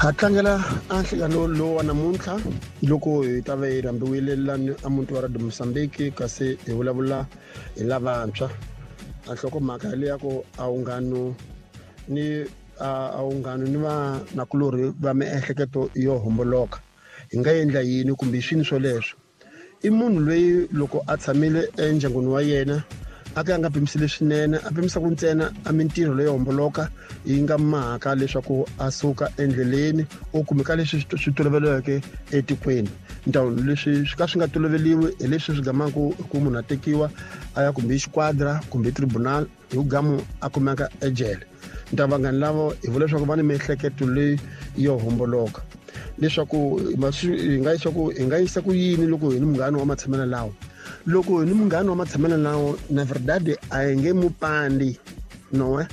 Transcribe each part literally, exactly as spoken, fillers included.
Ha tlangela a nhlangano lowu wa namuntlha loko hi ta va hi rhambiwile lani a muti wa Radio Mozambique, kasi hi vulavula hi lavantshwa. A nhlokomhaka leyi ya ku a wunghano ni a wunghano ni vanakulorhi va miehleketo yo homboloka, hi nga endla yini kumbe swini swoleswo. I munhu loyi loko a tshamile endyangwini wa yena a ka a nga pimiseli swinene, a pimisaka ntsena a mintirho leyo homboloka yi nga mhaka leswaku a suka endleleni u kumeka leswi swi toloveleke etikweni. Ndhawu leswi swi ka swi nga toloveliwi hi leswi swi gamaka ku munhu a tekiwa a ya kumbe xiquadra kumbe tribunal hi gamu a kumeka ejele. Nta vanghani lavo hi vula leswaku va ni miehleketo leyi yo homboloka, leswaku hi nga yisa ku hi nga yisa ku yini loko hi ni munghana wa matshamelo lawo. Loko hi ni munghana wa matshamelo lawo, na verdade a hi nge mu pandi noe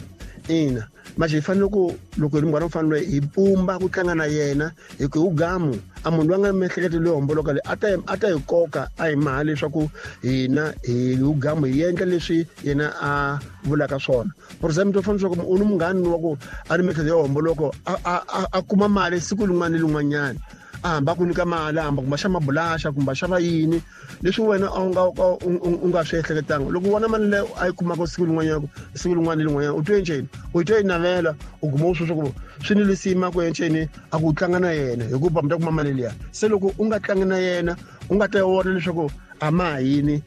ina manje hi fanele ku loko hi ri munghana u fanele hi pumba ku tlanga na yena, hi ku hi gamu a munhu loyi a nga miehleketo leyo homboloka leyi a ta a ta hi koka a hi maha leswaku hina hi gamu hi endla leswi yena a vulaka swona. For example, u fanele leswaku u ni munghana wa ku a ri miehleketo yo homboloka a a a kuma mali siku rin'wana ni rin'wanyana, a hamba ku nyika mali, a hamba kumbe xa mabulaxa kumbe xa va yini leswi wena a wu nga u nga swi ehleketanga. Loko u vona mali leyo a yi kumaka siku rin'wanyana siku rin'wana ni rin'wanyana, u twe njhani? U twe yi navela, u guma u swi swa ku swi ni lisima ku enceni a ku tlanga na yena hikuva mi ta kuma mali liya. Se loko u nga tlangi na yena, u nga ta vona leswaku a ma ha yini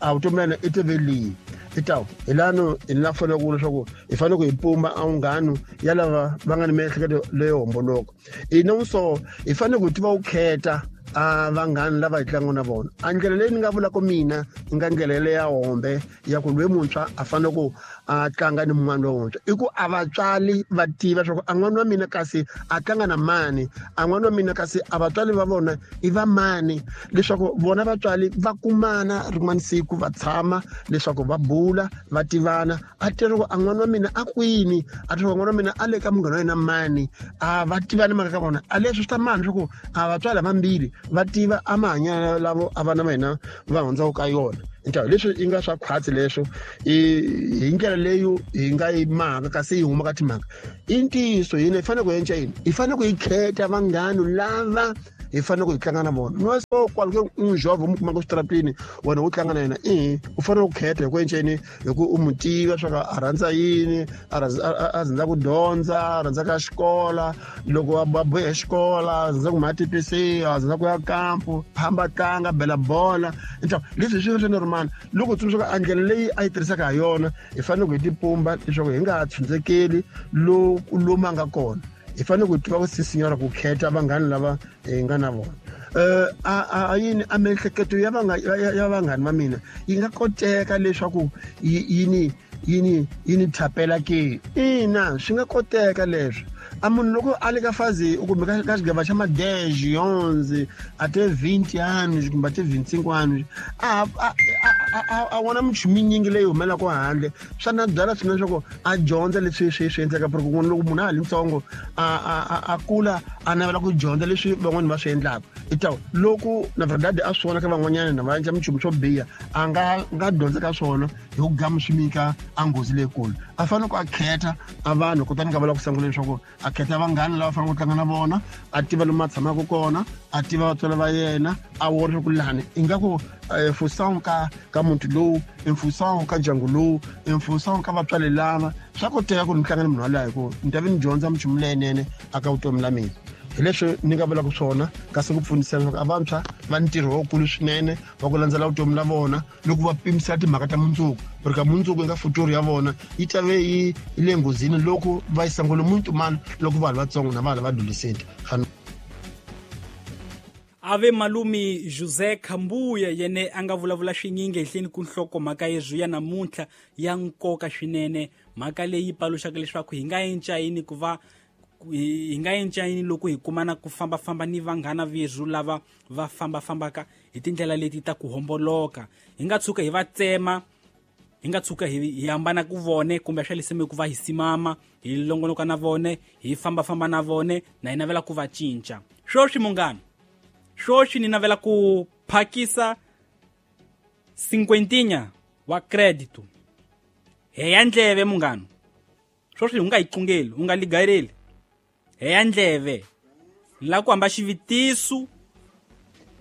a vutomi la yena i tive lihi. Itawu hi lano hi la fanele ku leswaku hi fanele ku hi pumba a wunghano ya lava va nga ni miehleketo leyo homboloka. Ina so hi fanele ku tiva ku khetha a vanghani lava hi tlangaka na vona. A ndlela leyi ni nga vulaka mina yi nga ndlela leya hombe ya ku loyi muntshwa a fanele ku a tlanga ni mun'wana lontshwa, i ku a vatswari va tiva leswaku a n'wana wa mina kasi a tlanga na mani, a n'wana wa mina kasi a vatswari va vona i va mani, leswaku vona vatswari va kumana rin'wana siku va tshama leswaku va bula va tivana, a tiva ku a n'wana wa mina a kwini, a tiva ku n'wana wa mina a le ka munghana wa yena mani, a va tivani mhaka ka vona. A leswi swi ta mani leswaku a vatswari vambirhi va tiva a mahanyelo lavo a vana va hina va hundzaka ka yona. Ntawu leswi yi nga swa khwatsi leswo hi ndlela leyo hi nga yi mhaka kasi yi huma ka timhaka. I ntiyiso hina hi fanele ku endla yini? Hi fanele ku hi khetha vanghana lava hi fanele ku hi tlanga na vona. No so kwale un jovho mu kumaka switarateni wena u tlanga na yena, i u fanele ku khetha hi ku enceni hi ku u mu tiva swa ku a rhandza yini, a rhandza ku dyondza, a rhandza ka xikola, loko a bohe xikola, a rhandza ku ma T P C, a rhandza ku ya kampu, hamba tlanga bela bola. Ntawu leswi swi swi normal. Loko tsundzuka a ndlela leyi a yi tirhisaka ha yona, hi fanele ku hi tipumba leswaku hi nga ha tshundzekeli lomu a nga kona. Hi fanele ku tiva ku sisinyora ku khetha vanghana lava hi nga na vona. Eh a yini a miehleketo ya vanga ya vanghani va mina yi nga koteka leswaku yini yini yini thapela ke? Ina, swi nga koteka leswo. A munhu loko a le ka fazi u kumbe ka xigava xa ma-dez onze a te vinti anos kumbe a te vinti-cinco anos, a a vona minchumu yinyingi leyi humelaka handle, swa na byala swinene leswaku a dyondza leswi swi swi endleka. Ku loko munhu a ha ri ntsongo a a a kula a navela ku dyondza leswi van'wani va swi endlaka. Itawu loko na verdade a swi vona ka van'wanyana na va endla minchumu swo biha, a nga nga dyondza ka swona hi ku gama swi nyika a nghozi leyikulu. A fanele ku a khetha a vanhu, kutani nga vula ku sungula leswaku a khetha vanghana lava faneleke ku tlanga na vona, a tiva lomu a tshamaka kona, a tiva vatswari va yena, a vona leswaku lani ingaku função ka ka muti lowu, i função ka ndyangu lowu, i função ka vatswari lava, swa koteka ku ni tlanga ni munhu waloye hi ku ni ta vi ni dyondza minchumu leyinene aka vutomi la mina. Hi leswi ni nga vulaka swona, kasi ku pfunisa leswaku a vantshwa va ntirho wukulu swinene wa ku landzela vutomi la vona loko va pimisela timhaka ta mundzuku, ku ri ka mundzuku eka futuro ya vona yi ta ve yi le nghozini loko va yi sangule muntu mani loko vanhu vatsongo na vanhu va adolescent. Ave malumi José Khambuya yene a nga vulavula swinyingi ehenhleni ku nhlokomhaka yezwi ya namuntlha ya nkoka swinene, mhaka leyi paluxaka leswaku hi nga enca yini ku va hi nga enca yini loko hi kumana ku fambafamba ni vanghana verhu lava va fambafambaka hi tindlela leti ta ku homboloka. Hi nga tshuka hi va tsema, hi nga tshuka hi hambana ku vone kumbe swa leseme ku va hi simama, hi longonoka na vone, hi fambafamba na vone, na hi navela ku va cinca. Swoswi munghana, swoswi ni navela ku phakisa cinquentinha wa crédito. Heya ndleve munghana, swoswi u nga yi qungeli, u nga ligareli. Heya ndleve. Ni lava ku hamba xivutiso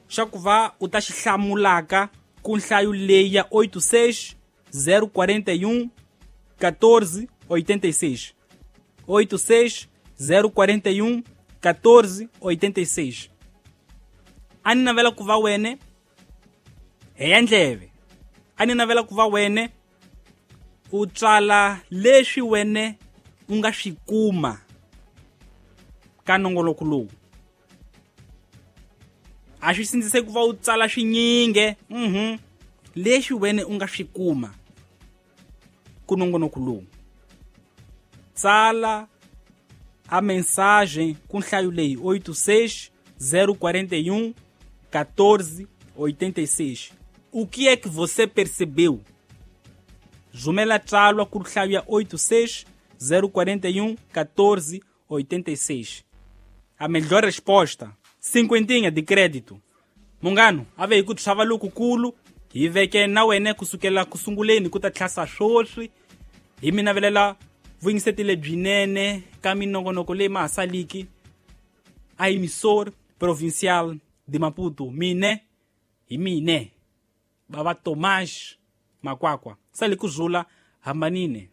xa ku va u ta xi hlamulaka ku nhlayo leyi ya oito seis zero quarenta e um quatorze oitenta e seis. oito seis zero quarenta e um quatorze oitenta e seis. A ni navela ku va wene heya ndleve. A ni navela ku va wene u tsala leswi wene u nga swi kuma ka nongoloko lowu. A swi sindzise ku va u tsala swinyingi, mhm, leswi wene u nga swi kuma ku nongonoko lowu. Tsala a mensagem ku nhlayo leyi oito seis zero quarenta e um quatorze oitenta e seis. O que é que você percebeu? Jumela tsalwa ku nhlayo ya oito seis zero quarenta e um quatorze oitenta e seis. A melhor resposta, cinquentinha de crédito. Mungano, ave hi ku tshava lokukulu, hi veke na wena kusukela kusunguleni ku ta tlhasa swoswi, hi mi navelela vuyingiseti lebyinene ka minongonoko leyi ma ha saliki a emissora provincial de Maputo. Mine hi mine bava Tomás Makwakwa sali ku zula hambanine.